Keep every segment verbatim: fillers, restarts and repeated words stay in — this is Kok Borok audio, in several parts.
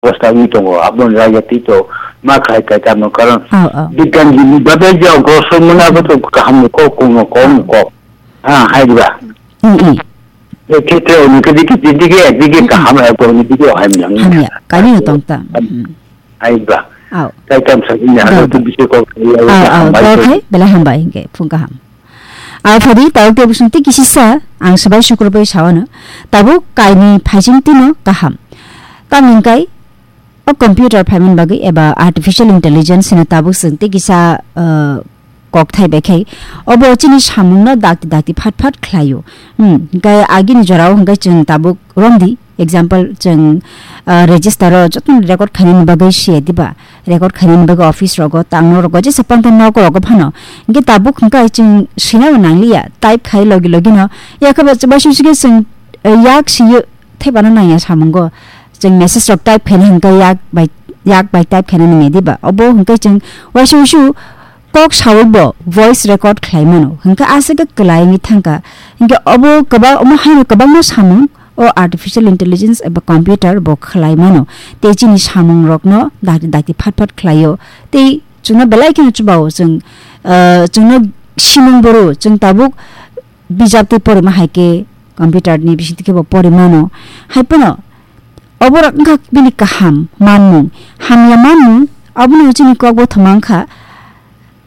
Bwsa wngwi tongo, aboni raida twi to ma khai kai tamo karon. Aw, aw. Bigyan ni babe je grosor muna bo to kaham ni kok, kuno kom kok. Ha, hai ba. I, i. E khetre oni ke dike dike dike kaham hai ko oni dike hai mnang. Hamya, kali no tong ta. Mm. Hai ba. Aw. Kai tam sa ni ha to bisi ko. Aw, aw, to khai bela hambai hingke phung kaham. Aphadi tabuk tei bwswng tei kisisa ang swbai sukurbai sawano. Tabuk kaini phaising tino kaham. Tamni hwnkhe o computer phaimani bagwi eba artificial intelligence hino tabuk chwng tei kisa, uh, kokthai bai khai. Obo chini samungno dakti dakti phat phat khlaio. Hmm, hwnkhe agini jorao hwnkhe chwng tabuk romdi. Example, chwng, ah, register o jotono record khainani bagwi siya diba? Record khainani bagwi office rogo, tangno rogo, jesa panta nok rogo phano. Hingke tabuk hingka chwng sinabo nangliya, type khai logi logi no. Yakhe ba, ba sui sui khe chwng, eh, yak siyo thepano nangya samungo. Chwng message rok type khaina hingka yak bai, yak bai type khaina nangya diba? Obo hingke chwng waisa wasu kok sawi bo voice record khlai mano. Hingke aswk khe kwlai wngwi thangkha. Hingke obo kwbang, omo haino kwbangma samung o artificial intelligence eba computer bo khlai mano. Tei chini samung rokno dakti dakti phat phat khlaio. Tei chwngno belai kheno chubao chwng, ah, chwngno simung boro chwng tabuk bijap tei porima hai khe computer ni bising twi khe bo pori mano. Hai phano oborok wngkha bini kaham manmung, hamya manmung, abono chini kok bo thoma wngkha.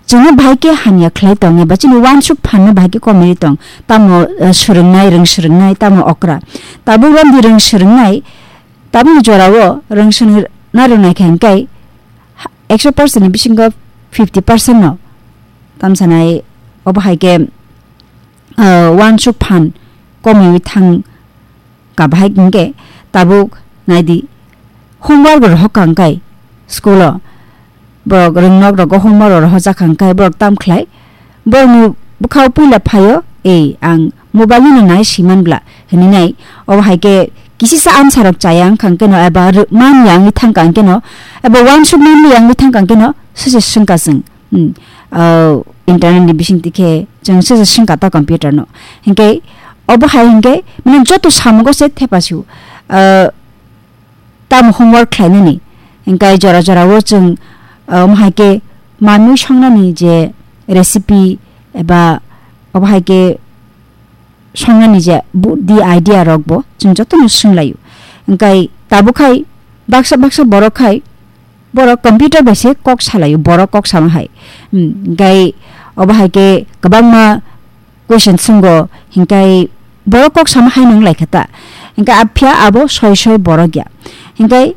Chwngno bahai khe hamya khlai tong eba chini uansuk phanno bahai khe komwi tong. Tamo, eh, swrwngnai, rwng swrwngnai, tamo okra. Tabuk romdi rwng swrwngnai, tabukni jorao rwng swrwngna rwngnai khe hingkai ekso percent ni bisingo fifty percent no tamsanai obo hai khe, eh, uansuk phan komwi thang. Kabahai hingke tabuk naidi, homework rohok kangkai school o, borok rwngnok rogo homework rohojak kangkai borok tam khlai, borokni bwkhao puila phaio, "Ei, ang mobile no nai siman bla," hinwi nai. Obo hai khe kisisa answer rok chaya wngkha hwnkhe no, eba rw-, man ya wngwi thangkha hwnkhe no, eba uansuk man ya wngwi thangkha hwnkhe no, sese swngkha chwng. Hmm. Ah, internet ni bising twi khe chwng se se swngkha ta computer no. Hinkhe obo hai hinkhe mane joto samungo se thepa sio. Ah, tamo homework khlainani. Hinkhe jora jora o chwng, ah, omo hai khe manwi songnani je recipe eba obo hai khe songnani je bu-, di idea rok bo chwng jotono swnglaio. Hinkhe tabuk khai baksa baksa borok khai borok computer bai se kok salaio, borok kok sama hai. Hmm, hinkhe obo hai khe kwbangma question swngo, hinkhe borok kok sama hai nung lai kha ta. Hinkhe a phiya abo soi soi borok ya. Hinkhe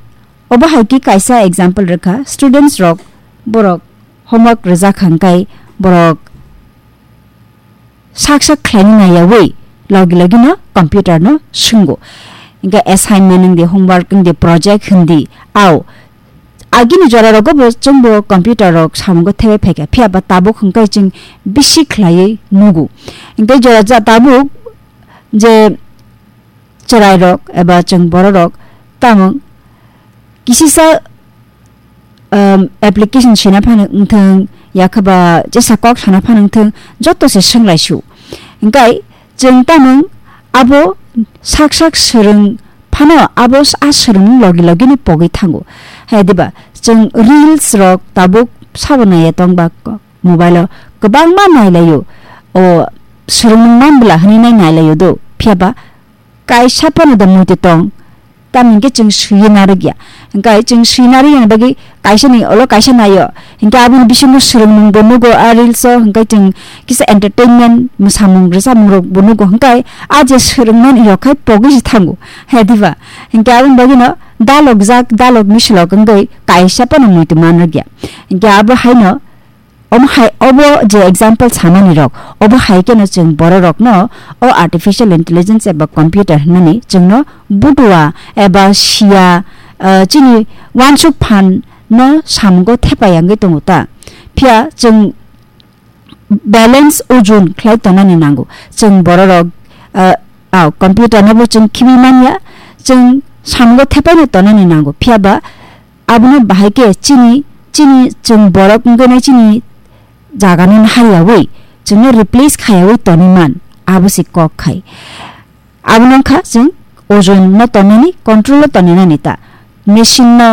obo hai khe kaisa example rwkha, students rok borok homework rwjak kha hinkhe borok sak sak khlaina naiyawi logi logi no computer no swngo. Hinkhe assignment wngdi, homework wngdi, project hindi, au agini jora rogo bo chwngbo computer rok samungo thebai phaikha, phiya ba tabuk hwnkhe chwng bisi khlaiwi nugo. Hinkhe jora ja tabuk je chwrairok eba chwng bororok tamo kisisa, um, application sina phano wngthung, yakhaba jesa kok sana phano wngthung, joto se swnglaisu. Hinkhe chwng tamung abo sak sak swrwng phano abo s-, a swrwngmung logi logi no pogwi thango. Hai diba chwng reels rok tabuk sabo naiya tong ba ko-, mobile o kwbangma nailaio. O swrwngmung man bwla hwnwi nai nailaio do. Phiya ba kaisa phano da muitu tong, tamni hwnkhe chwng swiwi narwkya. Hwnkhe chwng swiwi narwkya ni bagwi kaisa ni olo kaisa naio, hwnkhe aboni bisingo swrwngmung bo nugo a reels o, hwnkhe chwng kisa entertainment, mwsamung rwchapmung rok bo nugo, hwnkhe a je swrwngmani rok khai pogwi se thango, he diba? Hwnkhe aboni bagwino dalokjak, dalok misilok wngwi kaisa phano muitu manrwkya. Hwnkhe abo haino Omo hai, obo je example samani rok, obo hai kheno chwng borok rokno o artificial intelligence eba computer hwnmani chwngno butua eba siya, ah, chini uansuk phan no samungo thepa yangwi tongo ta. Phiya chwng balance ujun khlai tongnani nango. Chwng borok rok, ah, ah, computer no bo chwng khibi manya, chwng samungo thepai no tongnani nango. Phiya ba abono bahai khe chini, chini chwng borok wngwi nai chini jaga no nahar yaui chwngno replace kha yaui tonwi man, abo se kok khai. Abono wngkha chwng ojon no tongnani, control o tongwi nani ta. Machine no